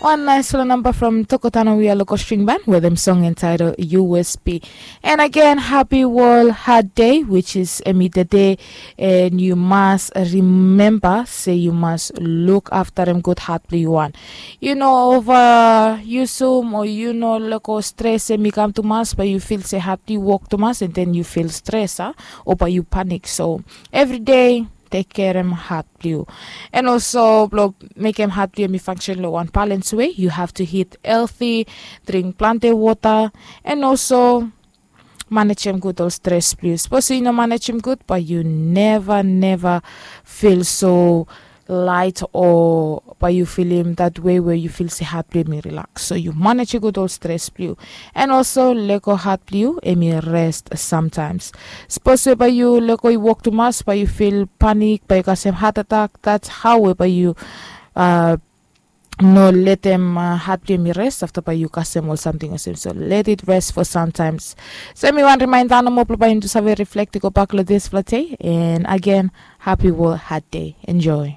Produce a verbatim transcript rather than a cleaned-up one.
Wan naisfala namba from Tokotano Wia Loko String Band wetem song entitled U S P. And again, happy World Heart Day, which is em i the day, and you must remember say you must look after em good heart blue one. You know, over yusum or you know, loko stress em i kam tumas, but you feel say heart blue work tumas, and then you feel stress, ah, or but you panic. So every day, tek kerem hat blue. And also blong mekem hat blue em i function lo wan balance way. You have to eat healthy, drink plenty water, and also manage em good ol stress blue. Suppose you no manage em good, but you never never feel so light or but you feel him that way where you feel say heart blue em i relax. So you manage em good ol stress blue. And also leko heart blue em i rest sometimes. Suppose we by you leko i work too much, by you feel panic, by you kasem heart attack. That's how we by you uh, no let them uh, heart blame me rest after by you kasem or something or same. So let it rest for sometimes. So mi wan remind ano mo by into save reflect go back lo this flate. And again, happy world heart day. Enjoy.